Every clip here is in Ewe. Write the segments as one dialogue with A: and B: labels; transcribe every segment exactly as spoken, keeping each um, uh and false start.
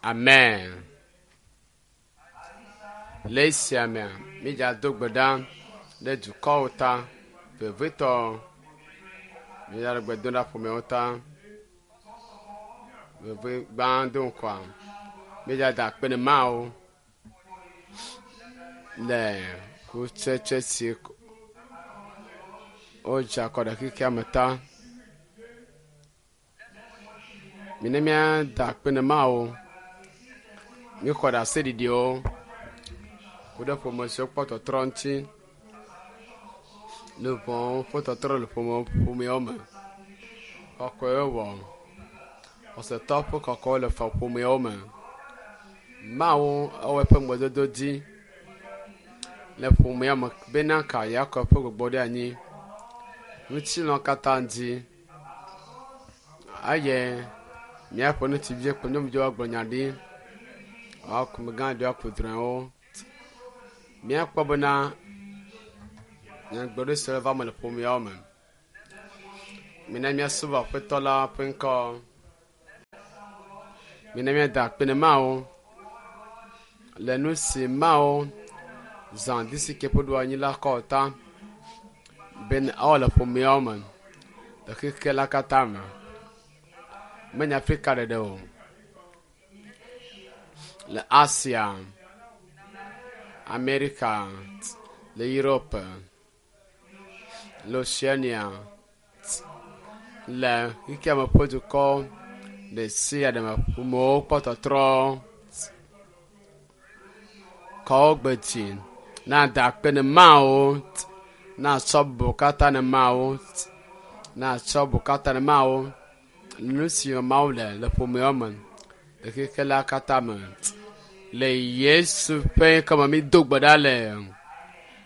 A: Amen. Le esia mea, mídzado gbe ɖa ɖe dukɔwo ta, vevitɔ mídzale gbe dom ɖa ƒomewo ta. Veve gbã do ŋkɔa, mídzada akpe ne Mawu le kutsetse si wodza kɔ ɖe xexea me ta. Mine míada akpe ne Mawu. Míxɔ ɖaseɖiɖiwo ku ɖe ƒome siwo kpɔ tɔtrɔ ŋuti. Nu vɔ̃wo ƒe tɔtrɔ le ƒome ƒomeawo me. Kɔkɔewo wɔ. Xɔsetɔ ƒe kɔkɔewo le fɔ ƒomeawo me. Mawu ewɔ eƒe ŋugbedodo dzi le ƒomea me bena ka yeakɔ eƒe gbɔgbɔ ɖe anyi. Ŋutilã katã dzi eye míaƒe ŋutsuviwo kple nyɔnuviwo agblɔ nya ɖi. Woaku gã ɖewo aku drɔ̃ewo. Míakpɔ bena nyagblɔɖi sia va me le ƒomeawo me. Mina míasubɔ Aƒetɔ la ƒe ŋkɔ. Mina míada akpe ne Mawu le nu si Mawu zã disike ƒe ɖoanyi la kɔ ta bena awɔ le ƒomeawo me le xexe la katã me. Menye Afrika ɖeɖe o. Le Asia, Amerika, le Europe, le Oceania, le xexea me ƒe dukɔ ɖe sia ɖe me ƒomewo kpɔ tɔtrɔ. Kɔ gbe dzi na da akpe ne Mawu, na tsɔ bubu katã ne Mawu, na tsɔ bubu katã ne Mawu. Nu si Mawu le le ƒomeawo me le xexe la katã me. Le Yesu ƒe ŋkɔme mi do gbe ɖa le.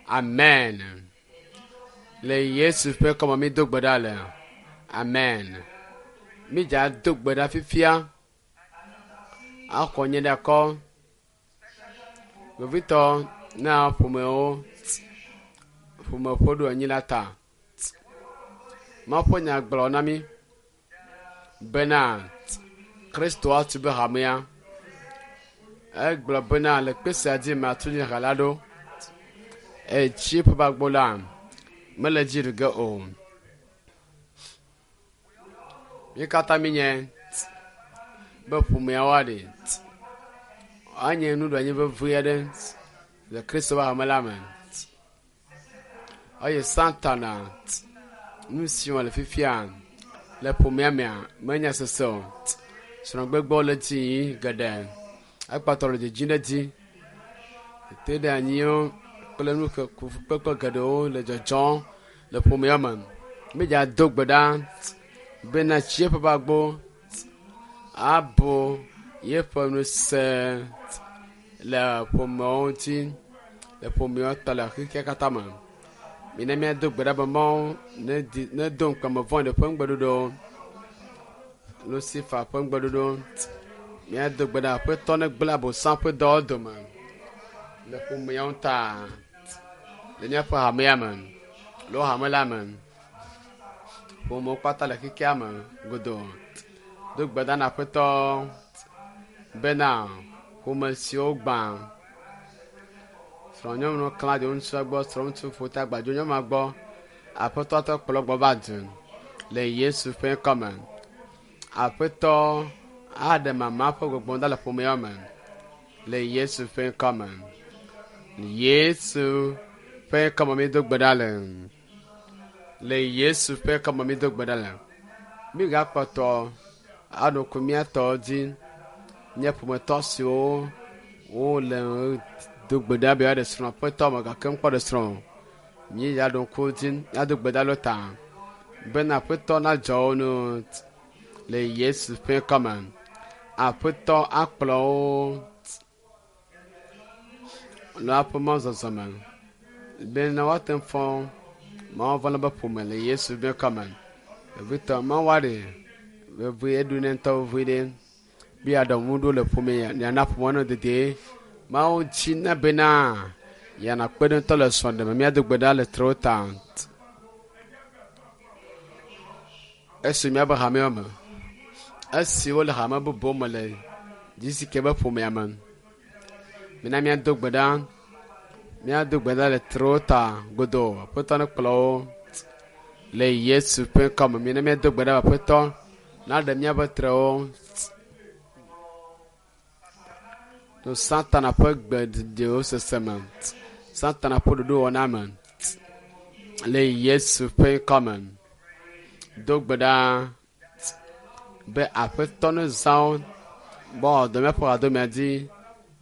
A: Amen. Le Yesu ƒe ŋkɔme mi do gbe ɖa le. Amen. Mídza do gbe ɖa fifia. Axɔ nye ɖe akɔ. Vevitɔ na ƒomewo ƒome ƒe ɖo anyi la ta. Mawu ƒe nya gblɔ na mí bena Kristo atu be hamea. Egblɔ bena le kpe sia dzi matu nye ha la ɖo. Eye tsi ƒe agbo la mele dzi ɖu ge o. Mí katã míenye be ƒomeawo aɖi anye nuɖoanyi vevi aɖe le Kristo ƒe hame la me. Eye Satana nu si wɔ le fifia le ƒomea mea menya sese o. Srɔ̃gbegbewo le dzi yim geɖe. Ekpɔtɔ le dzidzim ɖe edzi. Teteɖeanyiwo kple nu kpekpe geɖewo le dzɔdzɔm le ƒomea me. Mídza do gbe ɖa bena tsi eƒe agbo abo yeƒe ŋusẽ le ƒomewo ŋuti le ƒomeawo ta le xexea katã me. Mina míado gbe ɖa be Mawu nedo ŋukpeme vɔ̃ɖi ƒe ŋugbeɖoɖo, Lucifer ƒe ŋugbeɖoɖo. Míado gbe ɖa Aƒetɔ negblẽ Abosam ƒe dɔwo dome le ƒomeawo ta le míaƒe hamea me le wo hame la me. Ƒomewo kpata le xexea me godoo. Do gbe ɖa na Aƒetɔ bena ƒome siwo gbã srɔ̃nyɔnu klã dzo ŋutsua gbɔ, srɔ̃ŋutsu ƒo ta gbadzo nyɔnua gbɔ. Aƒetɔ te kplɔ gbɔ va du le Yesu ƒe ŋkɔme. Aƒetɔ aɖe mama ƒe gbɔgbɔ ɖa le ƒomea me le Yesu ƒe ŋkɔme. Yesu ƒe ŋkɔme mi do gbe ɖa le. Le Yesu ƒe ŋkɔme mi do gbe ɖa le. Mígakpɔtɔ aɖo ŋku mía tɔwo dzi. Nye ƒometɔ siwo wole do gbe ɖa be yewoaɖe srɔ̃ aƒetɔ me gake mekpɔ ɖe srɔ̃ o. Míaɖo ŋku wo dzi ado gbe ɖa ɖo ta bena Aƒetɔ nadzɔ wo nu le Yesu ƒe ŋkɔme. Aƒetɔ akplɔ wo le woaƒe mɔzɔzɔ me bena woate ŋu fɔ Mawu vɔ̃ la be ƒome le Yesu ƒe ŋkɔme. Vevitɔ Mawu aɖe vevie eɖo ne ŋutɔ vevie ɖe be yeaɖe ŋu ɖo le ƒome yeana ƒomea nɔ dedie. Mawu dzi na bena yeana kpe ɖe ŋutɔ le srɔ̃ɖe me. Míado gbe ɖa le trewo ta. Esi míabe hamewo me, esi wole hame bubuwo me le Dzisi ke be ƒomea me. Mina míado gbe ɖa. Míado gbe ɖa le trewo ta godoo. Aƒetɔ ne kplɔ wo le Yesu ƒe ŋkɔme. Mina míado gbe ɖa Aƒetɔ naɖe míaƒe trewo to Satana ƒe gbeɖiɖiwo sese me. Satana ƒe ɖoɖowɔna me le Yesu ƒe ŋkɔme. Do gbe ɖa be Aƒetɔ ne zã wo be woawɔ dɔ míaƒe hadomea dzi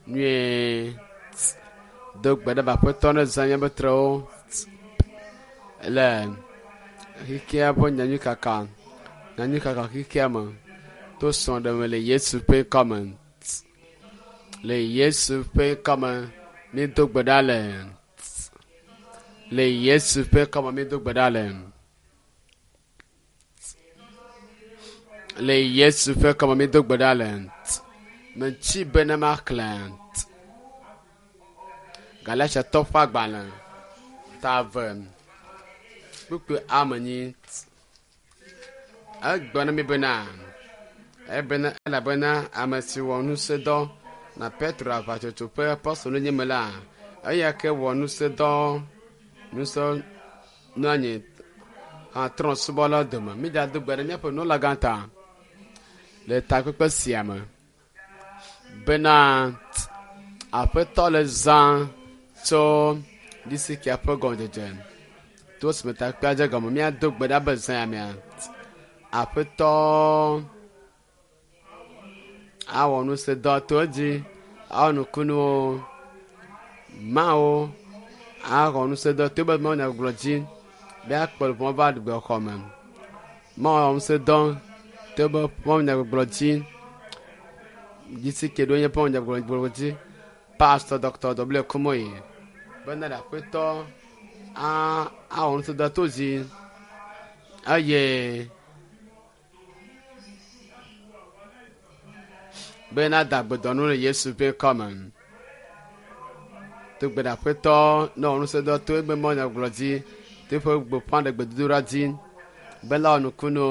A: nyuie. Do gbe ɖa be Aƒetɔ ne zã míaƒe trewo le xexea ƒe nyanyuikaka nyanyuikaka xexea me to srɔ̃ɖeme le Yesu ƒe ŋkɔme. Le Yesu ƒe ŋkɔme míedo gbe ɖa le. Le Yesu ƒe ŋkɔme míedo gbe ɖa le. Le Yesu ƒe ŋkɔme míedo gbe ɖa le. Metsi be ne maxlẽ Galatiatɔ ƒe agbalẽ ta eve kpukpui ame enyi. Egblɔ na mi bena ebena elabena ame si wɔ ŋusẽdɔ na Petro aʋatsotso ƒe apɔstolonyenye me la, eya ke wɔ ŋusẽdɔ ŋusẽ nɔ anyi hã trɔ̃subɔlawo dome. Mídzado gbe ɖe míaƒe nunɔlagã ta le takpekpe sia me bena Aƒetɔ le zã tso ɖisikia ƒe gɔmedzedze to esime takpekpea dze gɔme. Míado gbe ɖa be zã ya mea Aƒetɔ awɔ ŋusẽdɔ to edzi, awɔ nukunuwo, Mawu axɔ ŋusẽdɔ to be mawunyagbɔgblɔ dzi be akplɔ ʋɔ va gbexɔ me. Mawu awɔ ŋusẽdɔ to be mawunyagbɔgblɔ dzi. Dzisi ke ɖo nye mawunyagbɔgblɔ dzi. Pastor Doctor W. Kumuyi bena ɖe Aƒetɔ awɔ ŋusẽdɔ to dzi eye bena da gbedɔnu le Yesu ƒe ŋkɔme. Do gbe ɖe Aƒetɔ ne wɔ ŋusẽdɔ to ebe mawunyagbɔgblɔ dzi, to eƒe gbeƒãɖe gbedodoɖa dzi bena wɔ nukunu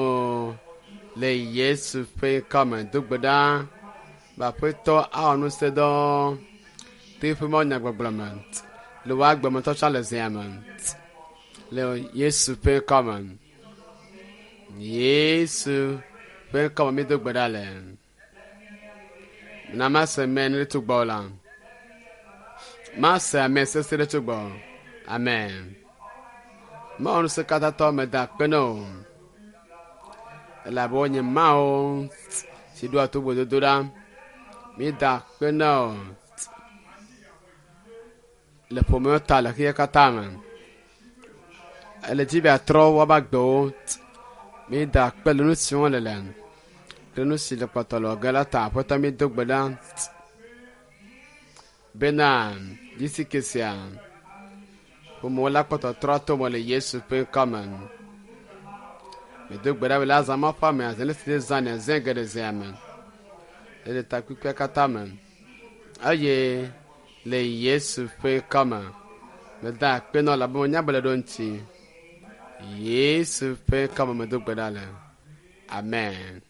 A: le Yesu ƒe ŋkɔme. Do gbe ɖa be Aƒetɔ awɔ ŋusẽdɔ to eƒe mawunyagbɔgblɔ me le wò agbemetɔtsɔ le zea me le Yesu ƒe ŋkɔme. Yesu ƒe ŋkɔme míedo gbe ɖa le. Na mase amen ɖe tso gbɔwò la. Mase amen sese ɖe tso gbɔwò. Amen. Mawu ŋusẽkatãtɔ meda akpe na wò elabe wonye Mawu si ɖoa to gbedodoɖa. Míeda akpe na wò le ƒomewo ta le xexea katã me. Ele dzi be yeatrɔ woabe agbewo. Míeda akpe le nu si wɔm le le kple nu si le kpɔtɔ le wɔge la ta. Aƒetɔ míedo gbe ɖa bena dzisi sia ƒomewo la kpɔtɔ trɔ to me le Yesu ƒe ŋkɔme. Medo gbe ɖa be le azã ma ƒe ame azã le si zã ne zẽ geɖe zea me le takpekpea katã me eye le Yesu ƒe ŋkɔme meda akpe na wò elabe menya be le ɖo ŋuti. Yesu ƒe ŋkɔme medo gbe ɖa le. Amen.